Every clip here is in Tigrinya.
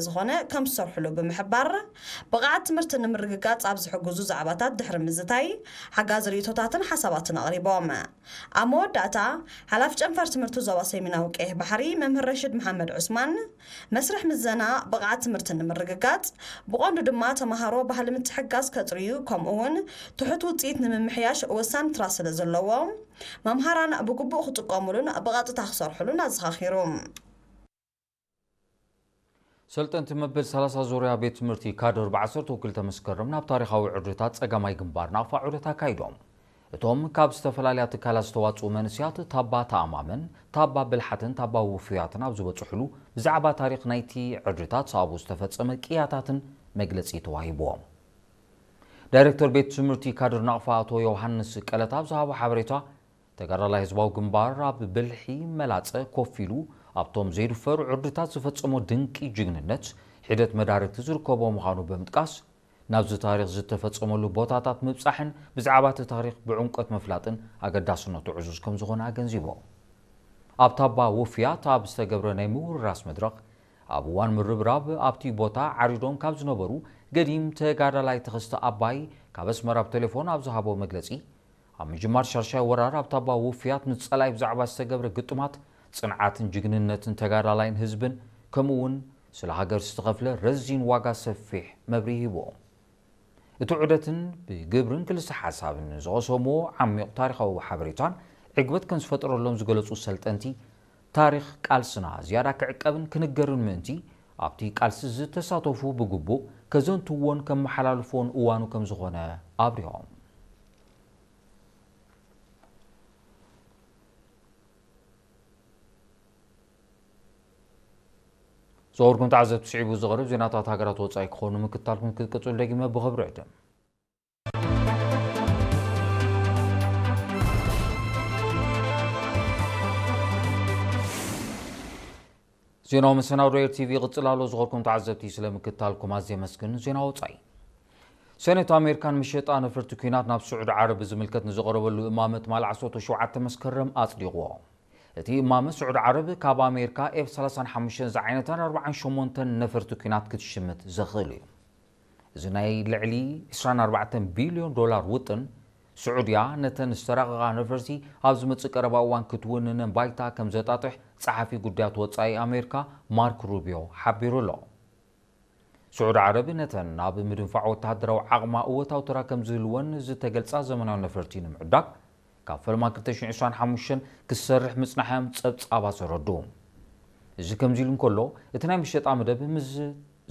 ዝኾነ ከም ዝሰርሕሉ ብምሕባር፣ ብቕዓት ትምህርቲ ንምርግጋጽ ኣብ ዝሕግዙ ዛዕባታት ድሕሪ ምዝታይ፣ ሓጋዚ ርእይቶታትን ሓሳባትን ኣቕሪቦም። ኣብ መወዳእታ፣ ሓላፊ ጨንፈር ትምህርቲ ዞባ ሰሜናዊ ቀይሕ ባሕሪ መምህር ረሽድ መሓመድ ዑስማን፣ መስርሕ ምዘና ብቕዓት ትምህርቲ ንምርግጋጽ፣ ብቐንዱ ድማ ተመሃሮ ባህሊ ምትሕግጋዝ ከጥርዩ፣ ከምኡ እውን ትሑት ውጽኢት ንምምሕያሽ ወሳኒ ተራ ስለ ዘለዎ፣ መምሃራን ብግቡእ ክጥቀሙሉን ብቐጥታ ክሰርሑሉን ኣዘኻኺሩ። ሰልጠንቲ መበል ሰላሳ ዙርያ ቤት ትምህርቲ ካድር ብ ዓሰርተ ክልተ መስከረም ናብ ታሪኻዊ ዕርድታት ጸጋማይ ግንባር ናቕፋ ዑደት ኣካይዶም። እቶም ካብ ዝተፈላለያ ትካላት ዝተዋጽኡ መንእሰያት ታባ ተኣማመን፣ ታባ ብልሓትን ታባ ውፉያትን ኣብ ዝበጽሕሉ፣ ብዛዕባ ታሪኽ ናይቲ ዕርድታት፣ ኣብኡ ዝተፈጸመ ቅያታትን መግለጺ ተዋሂብዎም። ዳይሬክተር ቤት ትምህርቲ ካድር ናቕፋ ኣቶ ዮሃንስ ቀለታ ኣብ ዝሃቦ ሓበሬታ፣ ተጋዳላይ ህዝባዊ ግንባር ኣብ ብልሒ መላጸ ኮፍ ኢሉ ኣብቶም ዘይድፈሩ ዕርድታት ዝፈጸሞ ድንቂ ጅግንነት ሒደት መዳርግቲ ዝርከቦ ምዃኑ ብምጥቃስ፣ ናብዚ ታሪኽ ዝተፈጸመሉ ቦታታት ምብጻሕን ብዛዕባ እቲ ታሪኽ ብዕምቆት ምፍላጥን ኣገዳስነቱ ዕዙዝ ከም ዝኾነ ኣገንዚቡ። ኣብ ታባ ውፍያት ኣብ ዝተገብረ ናይ ምውርራስ መድረኽ፣ ኣብ እዋን ምርብራብ ኣብቲ ቦታ ዓሪዶም ካብ ዝነበሩ ገዲም ተጋዳላይ ተኸስተ ኣባይ ካብ ኣስመራ ብቴሌፎን ኣብ ዝሃቦ መግለጺ፣ ኣብ ምጅማር ሻድሻይ ወራር ኣብ ታባ ውፍያት ንጸላይ ብዛዕባ ዝተገብረ ግጥማት፣ ጽንዓትን ጅግንነትን ተጋዳላይን ህዝብን፣ ከምኡ እውን ስለ ሃገር ዝተኸፍለ ረዚን ዋጋ ሰፊሕ መብርሂ ሂቦ። እቲ ዑደትን ብግብርን ክልሰ ሓሳብን ዝቐሰምዎ ዓሚቕ ታሪኻዊ ሓበሬታን ዕግበት ከም ዝፈጠረሎም ዝገለጹ ሰልጠንቲ፣ ታሪኽ ቃልስና ዝያዳ ክዕቀብን ክንገርን ምእንቲ፣ ኣብቲ ቃልሲ ዝተሳተፉ ብግቡእ ከዘንትዎን ከመሓላልፍዎን እዋኑ ከም ዝኾነ ኣብሪሆም። ዝኸበርኩም ተዓዘብቲ፣ ስዒቡ ዝቐርብ ዜናታት ሃገራት ወጻኢ ክኾኑ ምክታልኩም ክትቅጽሉ ደጊመ ብኽብሪ ዕድም። ዜናዊ መሰናዶ ኤር ቲቪ ይቕጽል ኣሎ። ዝኸበርኩም ተዓዘብቲ፣ ስለ ምክታልኩም ኣዝየ የመስግን። ዜና ወጻኢ። ሰኔት ኣሜሪካን ምሸጣ ነፈርቲ ኲናት ናብ ስዑዲ ዓረብ ብዝምልከት ንዝቐረበሉ እማመ ትማሊ ዓሰርተ ሸውዓተ መስከረም ኣጽዲቕዎ። እቲ እማመ ስዑዲ ዓረብ ካብ ኣሜሪካ ኤፍ ሰላሳን ሓሙሽተን ዝዓይነታን ኣርባዓን ሸሞንተን ነፈርቲ ኲናት ክትሽምት ዘኽእል እዩ። እዚ ናይ ልዕሊ ዕስራን ኣርባዕተን ቢልዮን ዶላር ውጥን፣ ስዑድያ ነተን ዝተራቐቓ ነፈርቲ ኣብ ዝመጽእ ቀረባ እዋን ክትውንነን ባይታ ከም ዘጣጥሕ ጸሓፊ ጉዳያት ወጻኢ ኣሜሪካ ማርክ ሩቢዮ ሓቢሩ ኣሎ። ስዑዲ ዓረብ ነተን ናብ ምድንፋዕ ወተሃደራዊ ዓቕማ እወታዊ ተራ ከም ዝህልወን ዝተገልጻ ዘመናዊ ነፈርቲ ንምዕዳግ ካብ ፈልማ ክልተ ሽሕን ዕስራን ሓሙሽተን ክሰርሕ ምጽናሓ እዮም ጸብጻባት ዘረድኡ። እዚ ከምዚ ኢሉ እንከሎ፣ እቲ ናይ ምሸጣ መደብ ምስ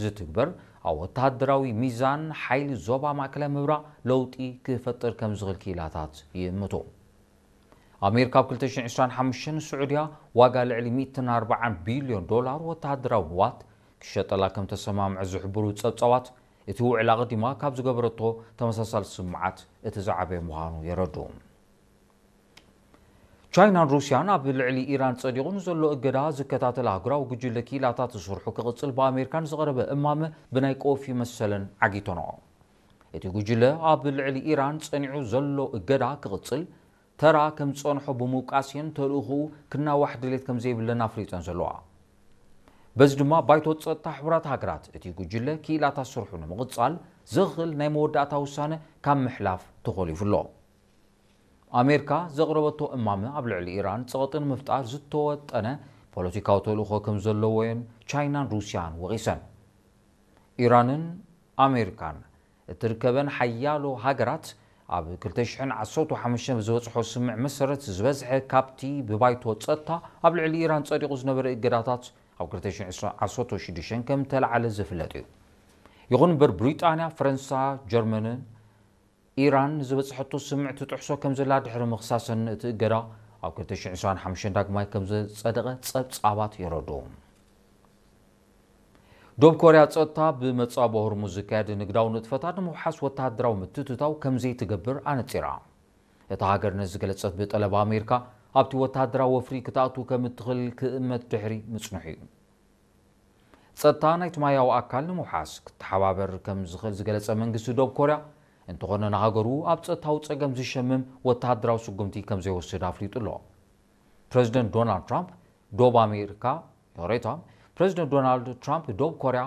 ዝትግበር፣ ኣብ ወተሃደራዊ ሚዛን ሓይሊ ዞባ ማእከላይ ምብራቕ ለውጢ ክፈጥር ከም ዝኽእል ክኢላታት ይእምቱ። ኣሜሪካ ኣብ ክልተ ሽሕን ዕስራን ሓሙሽተን ስዑድያ ዋጋ ልዕሊ ሚእትን ኣርባዓን ቢልዮን ዶላር ወተሃደራዊ ንዋት ክሸጠላ ከም ተሰማምዐ ዝሕብሩ ጸብጻባት፣ እቲ ውዕል ኣቐዲማ ካብ ዝገበረቶ ተመሳሳሊ ስምዓት እቲ ዝዓበየ ምዃኑ የረድኡ። ቻይናን ሩስያን ኣብ ልዕሊ ኢራን ጸዲቑ ንዘሎ እገዳ ዝከታተል ኣህጉራዊ ጉጅለ ክኢላታት ዝስርሑ ክቕጽል ብኣሜሪካ ንዝቐረበ እማመ ብናይ ቆፊ መሰለን ዓጊተንኦ። እቲ ጉጅለ ኣብ ልዕሊ ኢራን ጸኒዑ ዘሎ እገዳ ክቕጽል ተራ ከም ዝጸንሖ ብምውቃስየን ተልእኹኡ ክናዋሕ ድሌት ከም ዘይብለን ኣፍሊጠን ዘለዋ። በዚ ድማ ባይቶ ጸጥታ ሕቡራት ሃገራት እቲ ጉጅለ ክኢላታት ስርሑ ንምቕጻል ዘኽእል ናይ መወዳእታ ውሳነ ካብ ምሕላፍ ተኾሊፉ ኣሎ። ኣሜሪካ ዘቕረበቶ እማመ ኣብ ልዕሊ ኢራን ጸቕጢ ንምፍጣር ዝተወጠነ ፖለቲካዊ ተልእኾ ከም ዘለዎየን ቻይናን ሩስያን ወቒሰን። ኢራንን ኣሜሪካን እትርከበን ሓያሎ ሃገራት ኣብ ክልተ ሽሕን ዓሰርተ ሓሙሽተን ብዝበጽሖ ስምምዕ መሰረት ዝበዝሐ ካብቲ ብባይቶ ጸጥታ ኣብ ልዕሊ ኢራን ጸዲቑ ዝነበረ እገዳታት ኣብ ክልተ ሽሕን ዓሰርተ ሽዱሽተን ከም ተላዓለ ዝፍለጥ እዩ። ይኹን እምበር ብሪጣንያ፣ ፈረንሳ፣ ጀርመንን ኢራን ዝበጽሐቶ ስምምዕ ትጥሕሶ ከም ዘላ ድሕሪ ምኽሳሰን እቲ እገዳ ኣብ ክልተ ሽሕን ዕስራን ሓሙሽተን ዳግማይ ከም ዘጸደቐ ጸብጻባት የረድኡ። ደቡብ ኮርያ ጸጥታ ብመጻብቦ ሆርሙዝ ዝካየድ ንግዳዊ ንጥፈታት ንምውሓስ ወተሃደራዊ ምትእትታው ከም ዘይትገብር ኣነጺራ። እታ ሃገር ነዚ ዝገለጸት ብጠለብ ኣሜሪካ ኣብቲ ወተሃደራዊ ወፍሪ ክትኣቱ ከም እትኽእል ክእመት ድሕሪ ምጽንሑ እዩ። ጸጥታ ናይቲ ማያዊ ኣካል ንምውሓስ ክተሓባበር ከም ዝኽእል ዝገለጸ መንግስቲ ደቡብ ኮርያ፣ እንተኾነ ንሃገሩ ኣብ ጸጥታዊ ጸገም ዝሸምም ወተሃደራዊ ስጉምቲ ከም ዘይወስድ ኣፍሊጡ ኣሎ። ፕረዚደንት ዶናልድ ትራምፕ ዶብ ኣሜሪካ፣ ይቕሬታ፣ ፕረዚደንት ዶናልድ ትራምፕ ዶብ ኮርያ